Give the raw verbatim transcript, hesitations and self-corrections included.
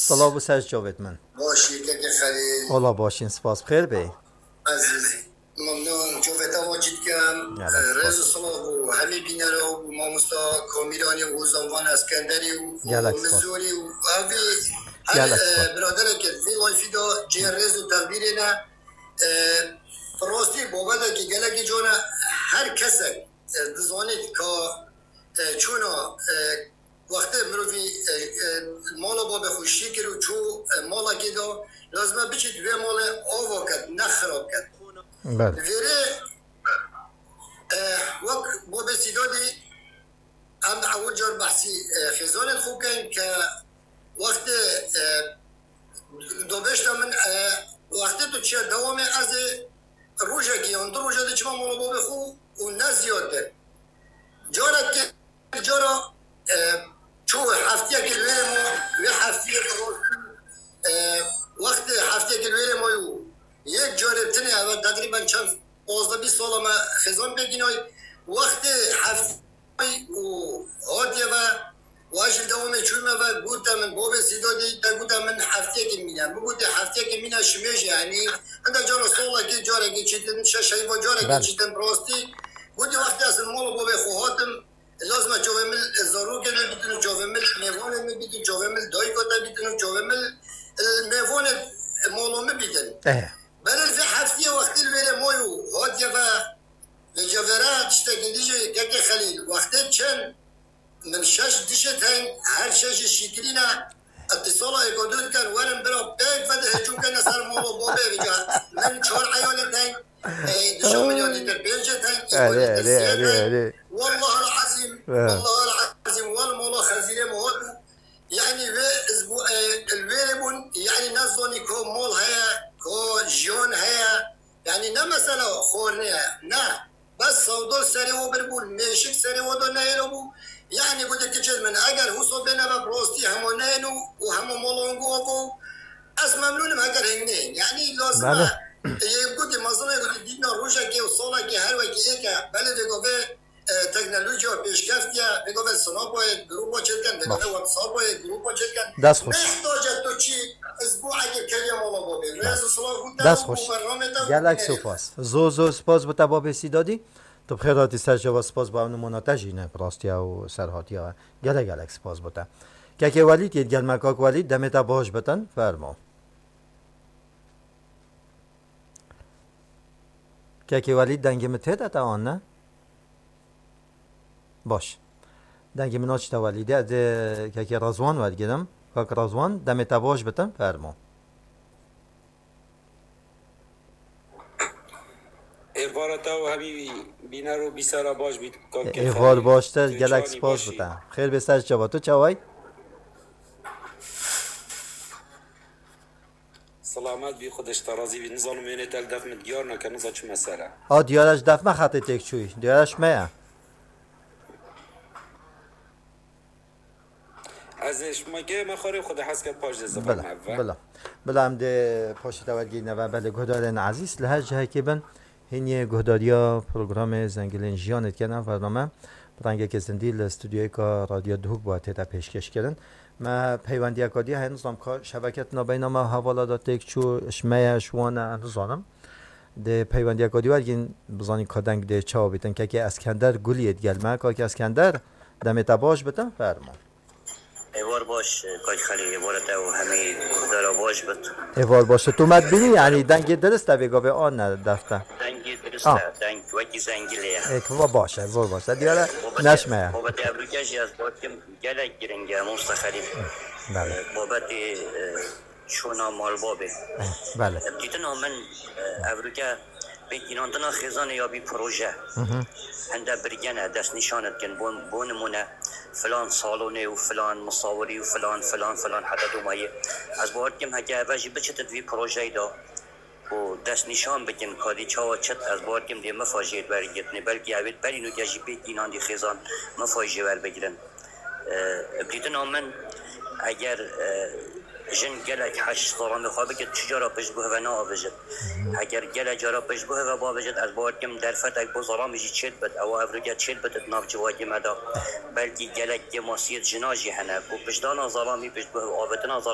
Silav û ser çavêt min. Baş î, kekê Xelîl. Ola başîn, spas, bi xêr bê. Ezîz, memnûn, çavê te va çî dikim. Gelek spas. Rêz û silav û hemî bînera û mamosta Kamîranî û Zanvan Eskenderî û Gelek spas. Mizorî û evî her, Gelek spas. e, biradereke vê layfî de cê rêz û texbîrê ne. E, bi rastî babeteke gelekî can e, her kesek, e, dizanît ka, e, çûna, e, wextê mirovî, e, e, mala babê xwe şî kir û çû, e, malekê de, lazim e biçît vê malê ava ket, ne xirab ket. Belê. Vêrê, e, wek babê Sîdadî, em ewil car behsî, e, xêzanên xwe bikin ke wextê, e, dobêşta min, e, wextê tu çiya dewamê ez ê rojekê yan du roja dê çima mala babê xwe û ne ziyadtir. Carekê cara, e, çû heftiyekê li wê ma, wê heftiyê bi rastî, e, wextê heftiyekê li wê ma û yek carê tinê ev teqrîben çend pazdeh bîst sala me xêzan pêkînay. Wextê heftiyê û hatiye ve, û ez ji dewamê çûme ve gote min, bobê Sîdadî te gote min heftiyekê mîne. Min gotê heftiyekê mîne şimê jî, yanî hinda cara salekê carekê çîtin, şeş heyva carekê Belê. çîtin rastî. Gotê wextê ez li mala babê xwe hatim, lazim e çavê min zarokê min bîtin û çavê min mêvanê min bîtin, çavê min dayika te bîtin û çavê min, e, mêvanê mala min bîtin. Eh. Belê li vê heftiyê wextê li wêrê may û hatiye ve, li cevera tiştekî dî jî kekê Xelîl, wextê çend min şeş dişê teng, her şeş jî şîkirî ne, îtîsala êk û du dikin, werin bira pêk vedin hêcû kene ser mala babê vêca. Min çar eyalê teng, e, dişa min ya dîtir pêncê teng, êk û Erê, dîtir erê, sê erê, teng. erê. Wallahal ezîm, He. wallahal ezîm, wal mala xezîrê min hat. Yanî vê ez bû, e, li wêrê bûn, yanî ne zanî ko mal heye, ko jiyan heye. Yanî ne mesela xwarinê ye, ne. Bes sewdol serê we bir bûn, mêşik serê we de neyêlo bû. Yanî gotê kiçêl min, eger huso bêne ve bi rastî hema neyên û, û hema mala wan ava, ez memnûn im eger hêng neyên. Yanî lazim Bele. e, yê gotê mezin e, gotê dîtina rojekê û salekê her wekî êk e. Belê vê gavê, e, teknolojiya pêşkeftiye, vê gavê Snapayê grupa çêdikin, vê gavê WhatsAppayê grupa çêdikin. Dest xweş. Nêstace tu çî, ez bû ege keriya mala babê. Rêz û silav bû te Dest û xweş. bû bernamê te û Gelek keriya. spas. Zor zor spas bo te babê Sîdadî. Tu bi xêr hatî ser çava, spas bo ew nimûna te jî ne bi rastiya û serhatiya. Gelek gelek spas bo te. Kekê Welîd yê digel me, kak Welîd, demê te baş bitin. Fermo. Kekê Welîd, dengê min tê de te an ne? Baş. Dengê min naçite Welîdê, ez ê kekê Rezwan wergirim. Kak Rezwan, demê te baş bitin, fermo. Êvara te û hemî bîner û bîsera baş bît, kak Êvar Keferî. baş te, Tu gelek çawanî spas baş bi te. Xêr bê ser çava, tu çaway? Silamet bî, Xwedê ji te razî bî. Nizanim wênê te li def min diyar nake, niza çi mesele. A diyara ji def me xetê têk çûyî. Diyara ji me ye. Ez ê ji me kê me xwarê Xwedê hez ket paş dê zibar Bila, me ve. bila. Bila em dê paşê te wergîrine ve belê guhdarên ezîz li her cihekê bin. Hîniyê guhdariya programê Zengilên Jiyanê dikin. Ev bername bi rengekê zindî li stûdyoyeka Radyo Duhok bû tête pêşkêşkirin. Me peywendiyeka dî heye, nizam ka şebeke di navbeyna me û hevala de têk çû, ji me ye, ji wan e, ez nizanim. Dê peywendiyeka dî wergîn, bizanîn ka deng dê çawa bîtin. Kekê Eskender Guliyê digel me. Kakê Eskender, demê te baş bitin, fermo. Êvar baş, Kak Xelîl, êvara te û hemî guhdara baş bit. Êvar baş. Tu me dibînî, yanî dengê dirist e vê gavê an ne def te? Dengê dirist Ah. e, deng wekî zengilê ye. Ê, va baş e, zor baş e. Diyare Babetê, neşme ye. Babetê Ebrûke jî ez bakim gelek giring e, Mosta Xelîl. Belê. Babetê, e, çûna malbabê. Belê. Dîtina min, e, Evrûke pêk înandina xêzanê ya bî proje. Hı hı. Hinde birgene destnîşan dikin, bo, bo nimûne filan salonê û filan misawirî û filan, filan, filan heta domayê. Ez bawer dikim heke eve jî biçitit vî projeyê de û destnîşan bikin, kadî çawa çit, ez bawer dikim dê mifa jê wergirtine. Belkî evê berî nûke jî pêk înandî xêzan mifa jê werbigirin. E, bi dîtina min, eger, e, jin gelek heş zalamê xwe bike, çi cara piştguh ve naavêjit. Eger gelek cara piştguh ve biavêjit, ez bawer dikim derfetek bo zalamê jî çêdibit, ewa evroke çêdibit di nav civakê me de. Belkî gelek kêmasiyêt jina jî hene, ku piştdana zalamî, piştguh ve avêtina zalamî